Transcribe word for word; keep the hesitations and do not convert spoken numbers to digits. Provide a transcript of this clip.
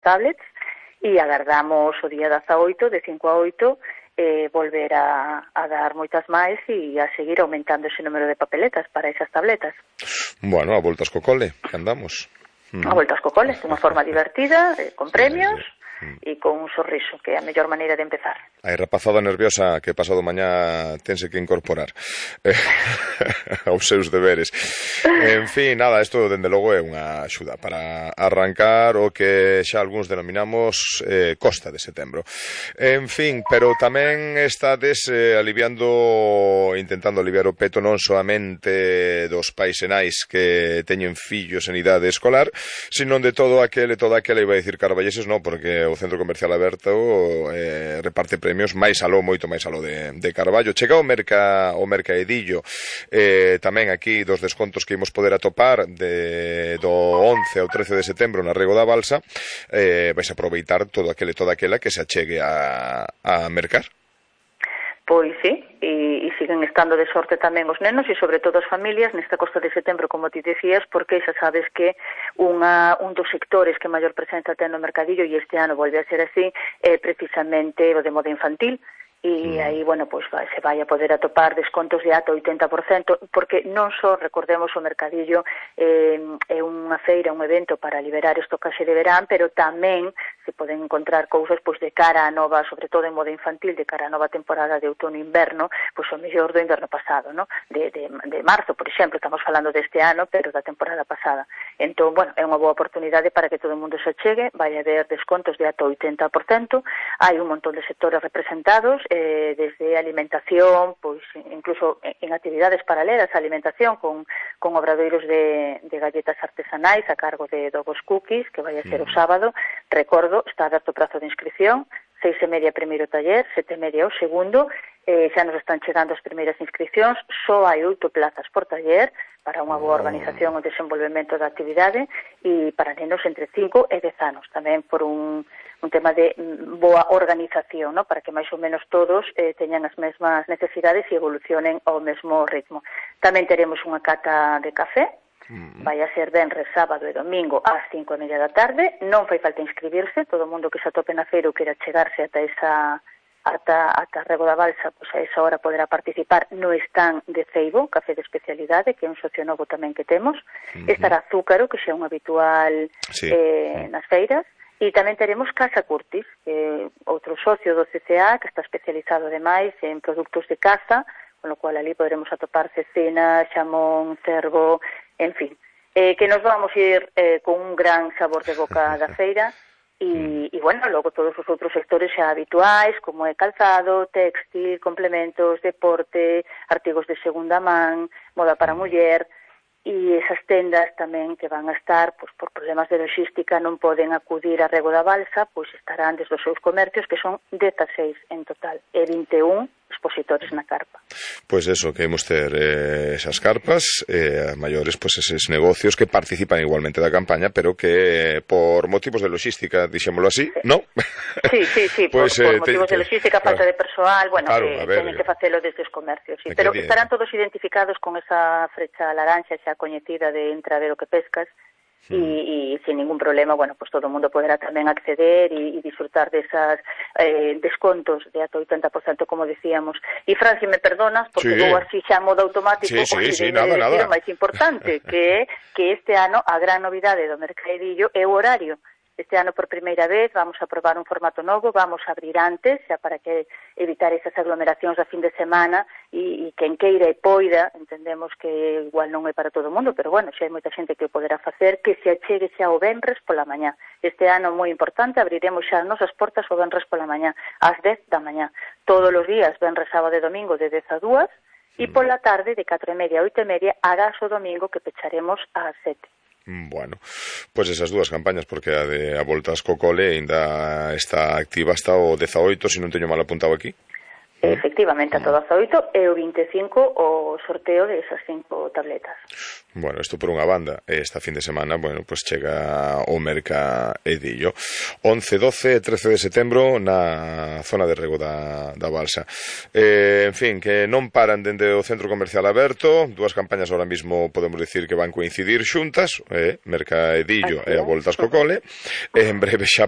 tablets e agardamos o día dezaoito, de cinco a oito, eh, volver a, a dar moitas máis e a seguir aumentando ese número de papeletas para esas tabletas. Bueno, a voltas co cole, que andamos. A voltas co cole, de unha forma divertida, eh, con premios, sí, sí. E con un sorriso, que é a mellor maneira de empezar. A rapazada nerviosa que pasado mañá tense que incorporar eh, aos seus deberes. En fin, nada, isto dende logo é unha axuda para arrancar o que xa algúns denominamos eh, costa de setembro. En fin, pero tamén estades eh, aliviando, intentando aliviar o peto non solamente dos pais e nais que teñen fillos en idade escolar, sino de todo aquele, toda aquela, iba a dicir carballeses, non, porque o Centro Comercial Aberto eh, reparte premios máis aló, moito máis aló de, de Carballo. Chega o merca o mercaedillo eh, tamén aquí dos descontos que imos poder atopar de, do once ao trece de setembro na Rego da Balsa. Eh, vais a aproveitar todo aquele, toda aquela que se achegue a, a mercar. Pois sí, e, e siguen estando de sorte tamén os nenos e sobre todo as familias nesta costa de setembro, como ti decías, porque xa sabes que unha, un dos sectores que maior presenza ten no mercadillo, e este ano volve a ser así, é precisamente o de moda infantil. E aí, bueno, pois vai, se vai a poder atopar descontos de ata oitenta por cento, porque non só, recordemos, o mercadillo eh, é unha feira, un evento para liberar estocaxe de verán, pero tamén se poden encontrar cousas pois de cara a nova, sobre todo en moda infantil, de cara a nova temporada de outono-inverno, pois o mellor do inverno pasado, no? de, de, de marzo, por exemplo, estamos falando deste ano, pero da temporada pasada. Entón, bueno, é unha boa oportunidade para que todo o mundo se achegue, vai haber descontos de ata oitenta por cento, hai un montón de sectores representados, Eh, desde alimentación, pois incluso en actividades paralelas a alimentación con, con obradoiros de, de galletas artesanais a cargo de Dogos Cookies, que vai a ser o sábado. Recordo, está aberto o prazo de inscripción, seis e media primeiro taller, sete e media o segundo, eh, xa nos están chegando as primeiras inscripcións, só hai oito plazas por taller para unha boa organización e desenvolvemento da actividade e para nenos entre cinco e dez anos, tamén por un un tema de boa organización, ¿no? Para que máis ou menos todos eh, teñan as mesmas necesidades e evolucionen ao mesmo ritmo. Tamén teremos unha cata de café, mm. vai a ser venres, sábado e domingo ás cinco e media da tarde, non fai falta inscribirse, todo o mundo que se atope na feira ou queira chegarse ata esa ata, ata Rego da Balsa, pois a esa hora poderá participar no stand de Ceibo, café de especialidade, que é un socio novo tamén que temos, mm-hmm. estará Zúcaro, que xa é un habitual sí. eh, nas feiras. E tamén teremos Casa Curtis, que outro socio do C C A, que está especializado ademais en produtos de caza, con lo cual ali poderemos atopar cecina, xamón, cervo, en fin. Eh, que nos vamos ir eh, con un gran sabor de boca da feira, e, e bueno, logo todos os outros sectores xa habituais, como é calzado, textil, complementos, deporte, artigos de segunda man, moda para muller, e esas tendas tamén que van a estar, pois por problemas de logística non poden acudir a Rego da Balsa, pois estarán desde os seus comercios, que son dezaseis en total, e vinte e un expositores na carpa. Pois eso, que hemos ter eh, esas carpas, eh, maiores, pois eses negocios que participan igualmente da campaña, pero que eh, por motivos de logística, dixémolo así, sí. ¿no? Sí, sí, sí, pues, por, eh, por motivos te, de logística, falta claro, de persoal, bueno, claro, que ver, teñen que facelo desde os comercios, sí. Pero que estarán todos identificados con esa frecha laranxa xa coñecida de entra a ver o que pescas, e, mm. e sin ningún problema, bueno, pues todo o mundo poderá tamén acceder e, e disfrutar desas eh, descontos de ata oitenta por cento, como decíamos. E Fran, se me perdonas, porque sí. vou así xa modo automático, sí, sí, sí, de, nada, de decir nada. o máis importante, que é que este ano a gran novidade do mercadillo é o horario. Este ano, por primeira vez, vamos a probar un formato novo, vamos a abrir antes, xa para que evitar esas aglomeracións a fin de semana, e, e quen queira e poida, entendemos que igual non é para todo o mundo, pero bueno, xa hai moita xente que o poderá facer, que se achegue xa o venres pola mañá. Este ano, moi importante, abriremos xa as nosas portas o venres pola mañá, ás dez da mañá. Todos os días, venres, sábado e domingo, de dez a dúas, e pola tarde, de catro e media a oito e media, agás o domingo, que pecharemos ás sete. Bueno, pois pues esas dúas campañas, porque a de a voltas co cole ainda está activa hasta o dezaoito, se non teño mal apuntado aquí. Efectivamente, a todas oito, e o vinte e cinco o sorteo de esas cinco tabletas. Bueno, isto por unha banda. Esta fin de semana, bueno, pues chega o mercadillo. once, doce e trece de setembro na zona de Rego da, da Balsa. Eh, en fin, que non paran dende o centro comercial aberto. Dúas campañas ahora mismo podemos decir que van coincidir xuntas, eh, mercadillo e a voltas co cole. En breve xa